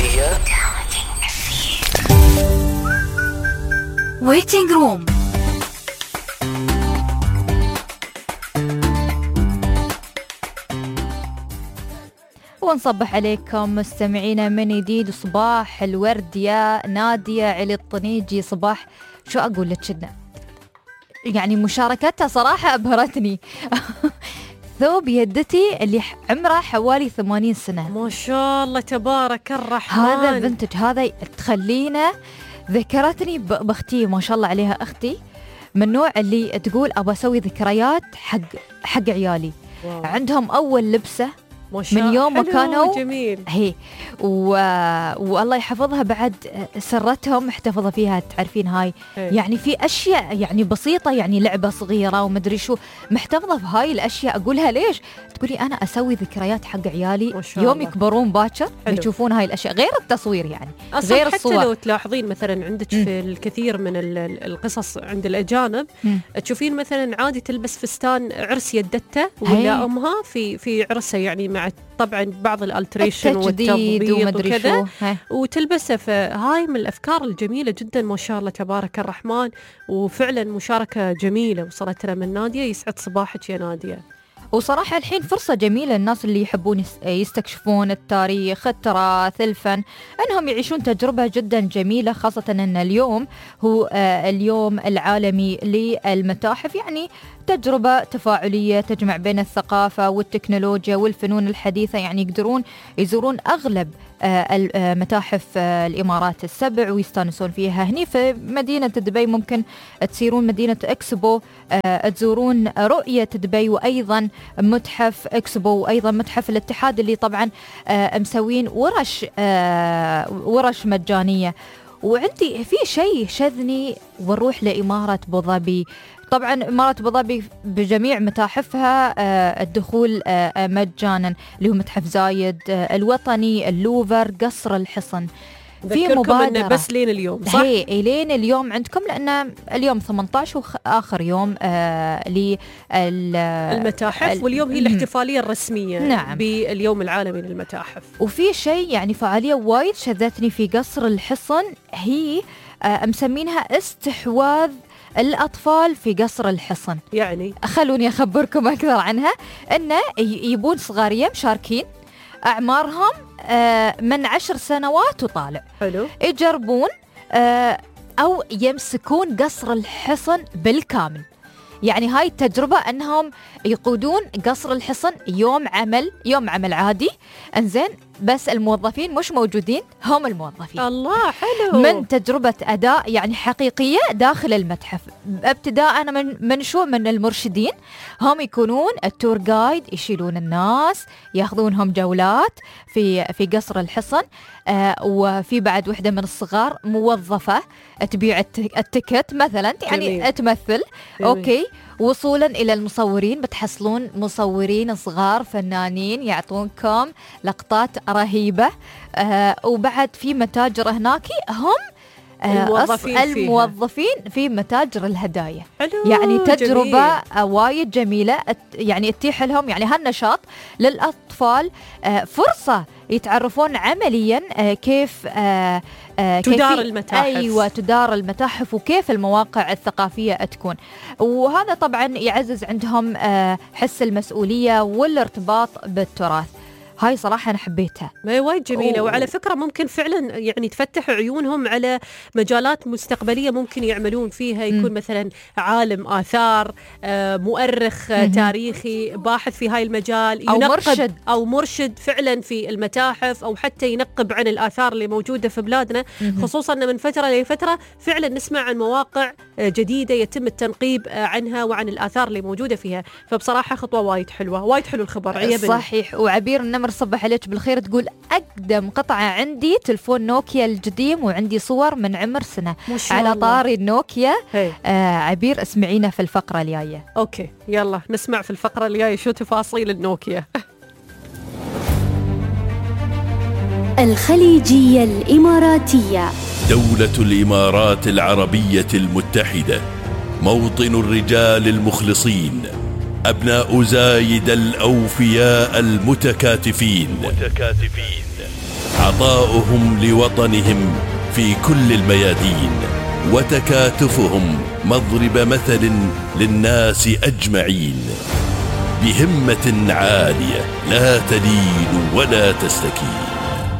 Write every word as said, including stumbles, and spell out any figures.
الخليجية Waiting Room. ونصبح عليكم مستمعينا من جديد. صباح الورد يا نادية علي الطنيجي. صباح شو أقول لك كنا يعني مشاركتها صراحة أبهرتني. ثوب يدتي اللي عمره حوالي ثمانين سنة. ما شاء الله تبارك الرحمن. هذا فنتج، هذا تخلينا ذكرتني بأختي ما شاء الله عليها. أختي من النوع اللي تقول أبى أسوي ذكريات حق حق عيالي. واو. عندهم أول لبسة من يوم ما كانوا جميل. هي و... والله يحفظها بعد سرتهم محتفظة فيها. تعرفين هاي هي. يعني في أشياء يعني بسيطة، يعني لعبة صغيرة ومدري شو محتفظة في هاي الأشياء. أقولها ليش؟ تقولي أنا أسوي ذكريات حق عيالي يوم يكبرون باكر يشوفون هاي الأشياء، غير التصوير يعني أصلاً غير حتى الصور. لو تلاحظين مثلا عندك م. في الكثير من القصص عند الأجانب م. تشوفين مثلا عادي تلبس فستان عرس يدته ولا أمها في في عرسها، يعني مع طبعا بعض الالتريشن والتبييض وكذا وتلبسه. فهاي من الأفكار الجميلة جدا ما شاء الله تبارك الرحمن. وفعلا مشاركة جميلة وصلت لنا من نادية. يسعد صباحك يا نادية. وصراحة الحين فرصة جميلة الناس اللي يحبون يستكشفون التاريخ، التراث، الفن، أنهم يعيشون تجربة جدا جميلة، خاصة أن اليوم هو اليوم العالمي للمتاحف. يعني تجربة تفاعلية تجمع بين الثقافة والتكنولوجيا والفنون الحديثة. يعني يقدرون يزورون أغلب المتاحف الإمارات السبع ويستانسون فيها. هني في مدينة دبي ممكن تسيرون مدينة إكسبو، تزورون رؤية دبي، وأيضا متحف إكسبو، وأيضا متحف الاتحاد اللي طبعا مسوين ورش ورش مجانية. وعندي في شيء شذني ونروح لإمارة أبوظبي. طبعا إمارة أبوظبي بجميع متاحفها الدخول مجانا، اللي هو متحف زايد، الوطني، اللوفر، قصر الحصن. في مبادرة بس لين اليوم صح؟ هي لين اليوم عندكم، لأن اليوم ثمانية عشر وآخر يوم آه للمتاحف، واليوم هي الاحتفالية الرسمية نعم. باليوم العالمي للمتاحف. وفي شيء يعني فعالية وايد شذتني في قصر الحصن، هي آه مسمينها استحواذ الأطفال في قصر الحصن. يعني خلوني أخبركم أكثر عنها. أنه يبون صغارية مشاركين أعمارهم من عشر سنوات وطالع. حلو. يجربون أو يمسكون قصر الحصن بالكامل. يعني هاي التجربة أنهم يقودون قصر الحصن يوم عمل يوم عمل عادي، أنزين، بس الموظفين مش موجودين، هم الموظفين. الله حلو. من تجربة أداء يعني حقيقية داخل المتحف، ابتداء أنا من من شو من المرشدين، هم يكونون التور جايد، يشيلون الناس، ياخذونهم جولات في في قصر الحصن. آه وفي بعد وحدة من الصغار موظفة تبيع التيكت مثلا، يعني جميل. تمثل جميل. أوكي. وصولا إلى المصورين، بتحصلون مصورين صغار فنانين يعطونكم لقطات رهيبة. آه وبعد في متاجر هناك هم الموظفين, الموظفين في متاجر الهدايا. حلو. يعني تجربة جميل. وايد جميلة، يعني تتيح لهم يعني هالنشاط للأطفال، فرصة يتعرفون عمليا كيف تدار المتاحف. أيوة تدار المتاحف وكيف المواقع الثقافية تكون. وهذا طبعا يعزز عندهم حس المسؤولية والارتباط بالتراث. هاي صراحة أنا حبيتها، ما هي وايد جميلة. أوه. وعلى فكرة ممكن فعلا يعني تفتح عيونهم على مجالات مستقبلية ممكن يعملون فيها. يكون م. مثلا عالم آثار، آه، مؤرخ آه، تاريخي، باحث في هاي المجال، أو مرشد أو مرشد فعلا في المتاحف، أو حتى ينقب عن الآثار اللي موجودة في بلادنا. م. خصوصا أن من فترة لفترة فعلا نسمع عن مواقع جديدة يتم التنقيب عنها وعن الآثار اللي موجودة فيها. فبصراحة خطوة وايد حلوة، وايد حلو الخبر. عيبني. صحيح. وعبير النمر صبح عليك بالخير، تقول أقدم قطعة عندي تلفون نوكيا القديم، وعندي صور من عمر سنة. على طاري النوكيا. آه عبير اسمعينا في الفقرة الجاية. أوكي يلا نسمع في الفقرة الجاية شو تفاصيل النوكيا. الخليجية الإماراتية. دولة الإمارات العربية المتحدة، موطن الرجال المخلصين أبناء زايد الأوفياء المتكاتفين، عطاؤهم لوطنهم في كل الميادين، وتكاتفهم مضرب مثل للناس أجمعين، بهمة عالية لا تلين ولا تستكين.